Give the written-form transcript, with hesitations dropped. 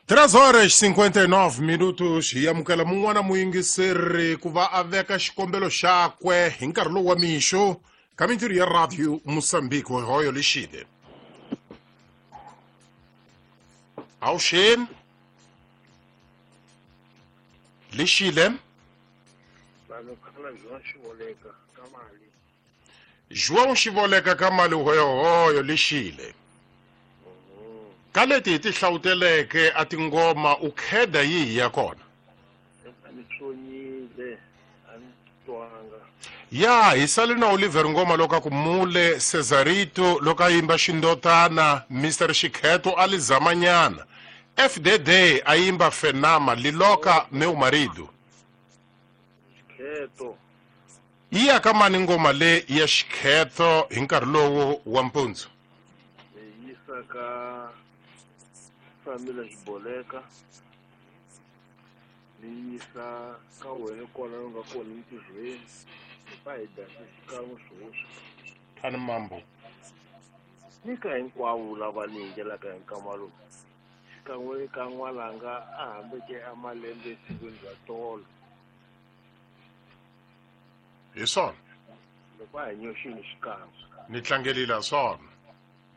3 horas 59 minutos hi amukela mun'wana muyingiseri ku va a veka xikombelo xakwe hi nkarhi lowu wa mixo ka mintirho ya radio Mozambique hoyo lexile awuxeni lexile. Vanhu khala João Xivoleka ka mali. João Xivoleka ka mali hoyohoyo lexile. Ka leti hi ti hlawuteleke a tingoma u kheda yihi ya kona? A ni tsonyile, a ni twanga. Ya hi sale na Oliver Ngoma loko a ku mule Cesarito loko a yimba xindotana Mr Xikheto a li zamanyana FDD a yimba Fenama Liloka meu marido. Xikheto. Yi ya ka mani ngoma le ya Xikheto hi nkarhi lowu wa mpundzu? Ni yisa ka Famila Xiboleka. Ni yisa ka wena kwala u nga kona entirhweni. Ni fa hi dya xikan'we swoswi. Thani mambo. Ni ka hinkwavo lava ni yingelaka hi nkama lowu. Xikan'we ka n'walanga a hambeke a malembe esikwini ra tolo. Hi swona. Loko a hi nyoxini xikan'we. Ni tlangelile swona.